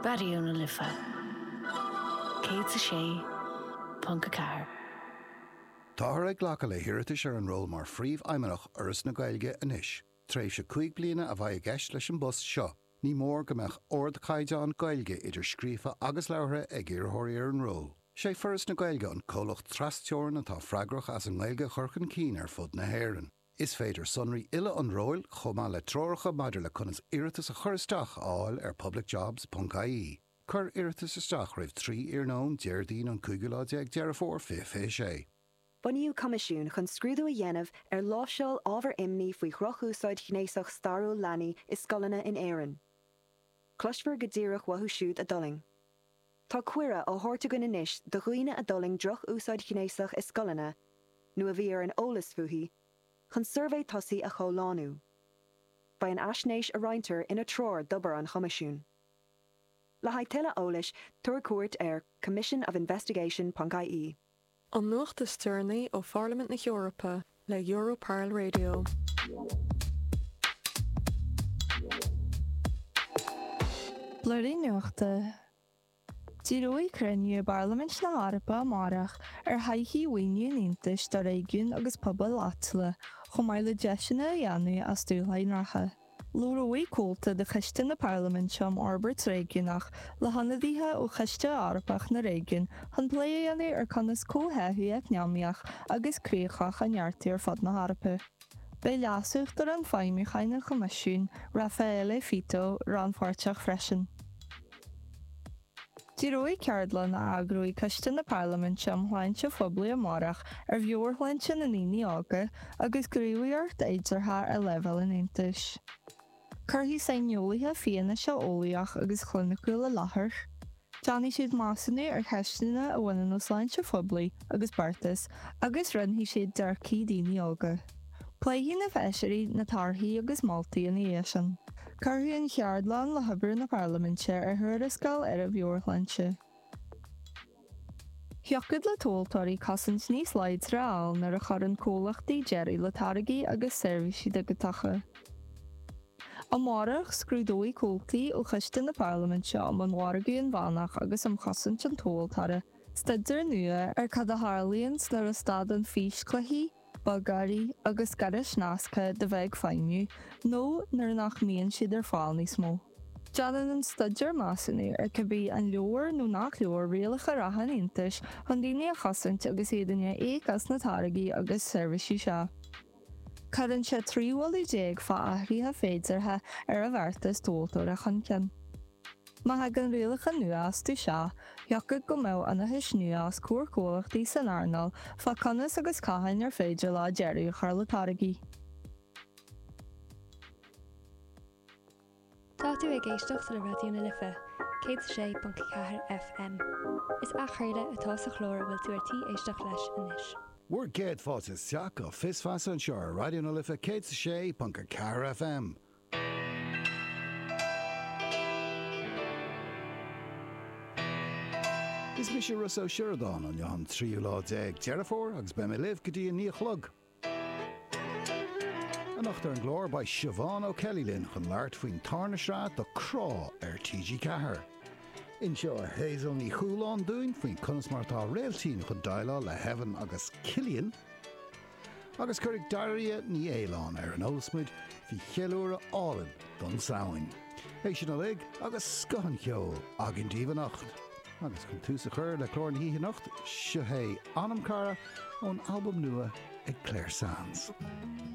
Raidió na Life 106.4. Táthar ag glacadh le hiarratais ar an ról mar Phríomhfheidhmeannach Fhoras na Gaeilge anois. Tréimhse 5 bliana a bheidh i gceist leis an bpost seo. Ní mór go mbeadh ardchaighdeán Gaeilge idir scríofa agus labhartha ag iarrthóirí ar an ról. Sé Foras na Gaeilge an comhlacht tras-teorann atá freagrach as an nGaeilge a chur chun cinn ar fud na hÉireann. Is féidir sonraí uile an róil, chomh maith le treoracha maidir le conas iarratas a chur isteach, a fháil ar publicjobs.ie. Cuir iarratas isteach roimh 3 iarnóin, Déardaoin an cúigiú lá déag Deireadh Fómhair 2026. Bunaíodh coimisiún chun scrúdú a dhéanamh ar láimhseáil ábhar imní faoi dhrochúsáid ghnéasach stairiúil leanaí i scoileanna in Éirinn. Cloisfear go díreach uathu siúd a d'fhulaing. Tá cuireadh á thabhairt againn anois do dhaoine a d'fhulaing droch-úsáid ghnéasach i scoileanna, nó a bhí ar an eolas fúithi, chun suirbhé tosaigh a chomhlánú. Beidh an fhaisnéis a roinntear ina treoir d'obair an Choimisiúin. Le haghaidh tuilleadh eolais, tabhair cuairt ar commissionofinvestigation.ie. An nuacht is deireanaí ó Pharlaimint na hEorpa le Europarl Radio. Blúirín Nuachta. Díreoidh cruinniú i bParlaimint na hEorpa amárach ar thodhchaí mhaoiniú an Aontais do réigiúin agus pobail áitiúla, chomh maith le deiseanna a dhéanamh as dúshláin reatha. Labhróidh comhalta de Choiste na Parlaiminte um Fhorbairt Réigiúnach le hionadaithe ó Choiste Eorpach na Réigiún chun plé a dhéanamh ar conas comhtháthú eacnamaíoch agus críochach a neartú ar fud na hEorpa. Beidh Leas-Uachtarán Feidhmiúcháin an Choimisiúin, Raffaele Fitto, rannpháirteach freisin. Díreoidh ceardlann a eagróidh Coiste na Parlaiminte um Shláinte Phoiblí amárach ar mheabhairshláinte na ndaoine óga agus gníomhaíocht fhéideartha ar leibhéal an Aontais. Cuirfidh saineolaithe fianaise eolaíoch agus chliniciúil i láthair. Déanfaidh siad measúnú ar cheisteanna a bhaineann le sláinte phoiblí agus beartas agus roinnfidh siad dearcthaí daoine óga. Pléifidh na feisirí na torthaí agus moltaí ina dhiaidh sin. Cuirfidh an cheardlann le hobair na Parlaiminte ar thuarascáil ar an mheabhairshláinte. Thiocfadh le tomhaltóirí cosaint níos láidre a fháil nuair a chuireann comhlachtaí deireadh le táirgí agus seirbhísí digiteacha. Amárach, scrúdóidh comhaltaí ó Choiste na Parlaiminte um an Mhargadh Inmheánach agus um Chosaint an Tomhaltóra staidéar nua ar cad a tharlaíonn nuair a stadann físchluichí, bogearraí agus gairis nasctha de bheith ag feidhmiú nó nuair nach mbíonn siad ar fáil níos mó. Déanann an staidéar measúnú ar cibé an leor nó nach leor rialacha reatha an Aontais chun daoine a chosaint agus iad i ndiaidh íoc as na táirgí agus seirbhísí seo. Cuireann sé 13 mholadh fá athruithe féideartha ar an bheartas tomhaltóra chun cinn. Má thagann rialacha nua astu seo, thiocfadh go mbeadh ionchais nua os comhair comhlachtaí san earnáil fá conas agus cathain ar féidir leo deireadh a chur le táirgí. Tá tú ag éisteacht le Raidió na Life 106.4 FM. Is athchraoladh atá sa chlár a bhfuil tú ar tí éisteacht leis anois. Bhur gcéad fáilte isteach go Fios Feasa anseo ar Raidió na Life 106.4 FM. Is mise Rossa Ó Sioradáin, inniu an tríú lá déag Deireadh Fómhair agus beidh mé libh go dtí a 9 a chlog. Anocht ar an gclár beidh Siobhán O'Kelly linn chun labhairt faoin tarna sraith de Crá ar TG4. Inseoidh Hazel Ní Chualáin dúinn faoin conas mar atá Réiltín chun déileáil le hEvan agus Cillian. Agus cuirfidh Daria Ní Fhaoláin ar an eolas muid faoi cheiliúradh álainn don Samhain. É sin uilig agus scoth an cheoil againn daoibh anocht. Agus chun tús a chur le clár na hoíche anocht, seo é Anam Cara ón albam nua ag Clare Sands.